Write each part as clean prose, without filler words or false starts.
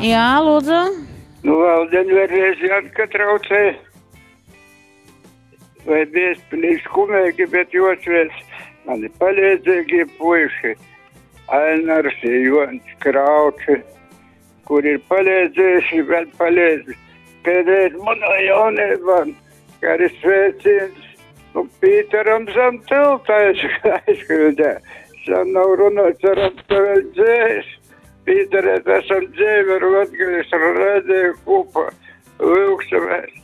Jā, lūdzu. Nu, vēl vēlreiz Janka traucē. Vai Bēzpilī skumīgi, bet josveic mani palīdzīgie puiši. Ainars, Jons Krauči, kur ir palīdzējuši, vēl palīdz. Pēdējais manā jaunībā, kā arī sveiciens, nu, Pīteram zem tilta aizkļūdē. Sen nav runāts, ceram, ka vēl dzēs. Pīterēt, esam dzīvi ar Latgales radiju kopā, vilksamies.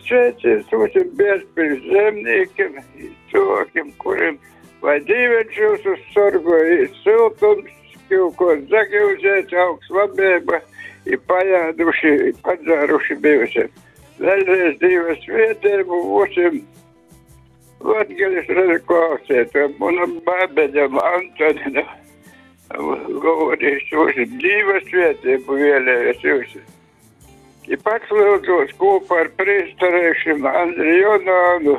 Sveiciens visiem Bēzpiļas zemniekiem, cilvēkiem, kuriem vai Dīveņš jūs sargoja, siltums, ko zagiuzēt, augsts labība, ir pajāduši, ir padzēruši bijusi. Vēlreiz Dieva svētību visiem Latgales radio klausētājiem, manam bābeņam Antoninam, govorīs visiem Dieva svētību vēlējos visiem. I pats lūdzos kopā ar priesterēšiem Andri Jonānu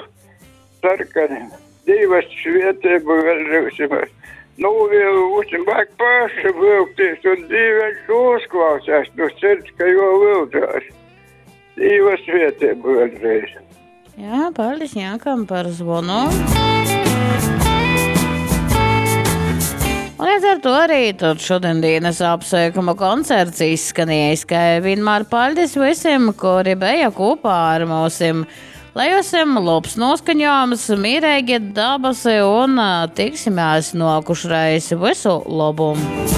Sarkanim. Dieva svētību vēlreiz. Nu, visiem vajag pašiem vilkties, un Dieviņš uzklausās no sirds, ka jo vildzās. Dieva svētību vēlreiz. Jā, paldies Jankam par zvanu. Un līdz ar to arī tad šodien dienas apsveikuma koncerts izskanējis, kā vienmēr paldies visiem, kuri bija kopā ar mūsim. Lai jums labs noskaņojums, mierīgi dabasi un tiksimies nokušreiz. Visu labu!